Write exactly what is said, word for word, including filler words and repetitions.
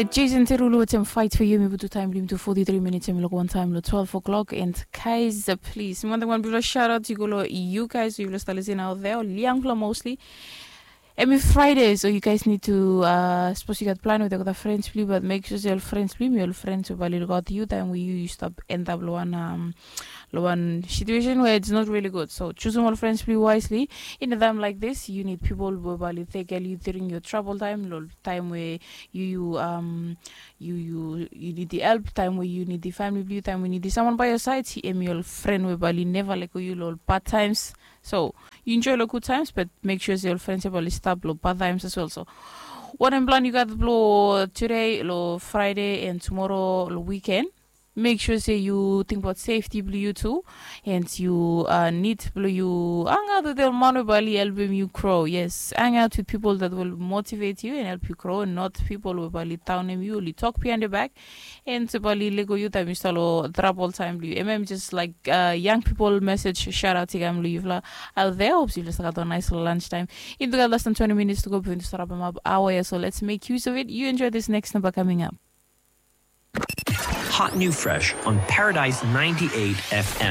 Jason Derulo wetem Fight for You. Yumi putum taem blong yumi tu forty-three minutes, yumi luk wan taem long twelve o'clock. And guys, uh, please, mi wantem wan bigfala shout out i go long you guys we yufala stap listening out there, ol yangfala mostly. Hemi Friday, so you guys need to, uh, sapos yu gat plan wetem olgeta friends blong yu, but make sure se ol friends blong yu hemi ol friends we bae oli lukaot yu taem we yu yu stap end up long wan, um, long wan situation where it's not really good. So jusum ol friends blong yu wisely. In a time like this, you need people we bae oli tackle you during your trouble time, long taem we yu yu, um, yu yu yu nidim help, taem we yu nidim famili blong yu, taem we yu nidim someone by your side, hemi ol fren we bae oli neva lego yu long ol bad times. So yu enjoy long good times, but make sure se ol frens ya bae oli stap long bad times as well. So wanem plan yu gat blong today, long Friday, and tomorrow long weekend? Make sure se yu tingbaot safety blong yu tu, and yu, uh, nid blong yu hangaot wetem ol man we bae oli helpem yu grow. Yes, hang out with people that will motivate you and help you grow, not people we bae oli downem yu, oli tok behind your back, and bae oli lego yu taem yu stap long trouble time blong yu. Hemia hemi just like, uh, young people message, shout out i kam long yufala out there. Hopes yufala stap gat wan nice lunch time. Yumi tu gat less than twenty minutes to go before yumi tu stap rapem ap aoa ya, so let's make use of it. You enjoy this next number coming up. Hot new fresh on Paradise ninety-eight F M.